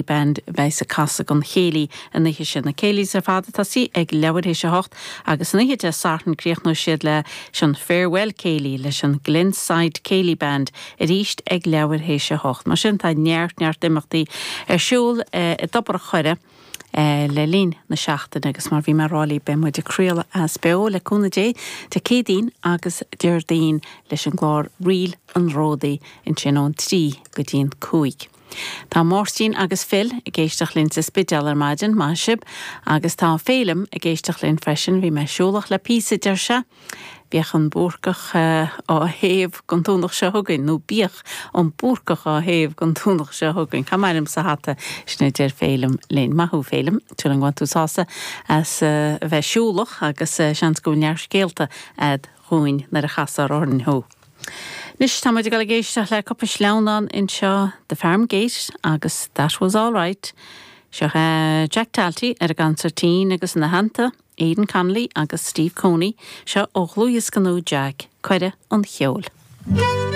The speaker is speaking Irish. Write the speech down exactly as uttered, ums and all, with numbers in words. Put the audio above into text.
Band bheas ag casadh an chéilí an oíche sin na céilís ar fad ag tosú ag leathuair théis a hocht agus an oíche Dé Sathairn críochnóidh siad leis an Farewell Céilí leis an Glenside Céilí Band arís ag leathuair théis a hocht. Mar sin tá neart neart imeachtaí ar siúl i dTobar an Choire. le linn na seachtaine agus mar bhí mé ag rá libh beidh muid ag craoladh as beo le cúnamh Dé Dé Céadaoin agus Déardaoin leis an gclár Ríl an Ródaí ansin ón trí go dtí an cúig. Tá Máirtín agus Phil ag éisteacht linn sa Spidéal ar maidin maith sibh agus tá Félim ag éisteacht linn freisin bhí mé siúlach le píosa deir sé. Bíodh an Búrcach á théamh don Domhnach seo chugainn nó bíodh an Búrcach á théamh don Domhnach seo chugainn. Cá mairim sa hata sin a deir Félim linn maith thú Félim tú an bhfuil tú sásta as a bheith siúlach agus seans go neart scéalta agat dúinn nuair a chasfar orainn thú. Anois tá muid ag dul ag éisteacht le cúpla sleamhnán anseo The Farm Gate agus That Was All Right. Seo Jack Talty ar an gconsairtín agus ina theannta, Aidan Connolly agus Steve Coney seo ó dhlúthdhiosca nua Jack, Cuireadh an Cheoil.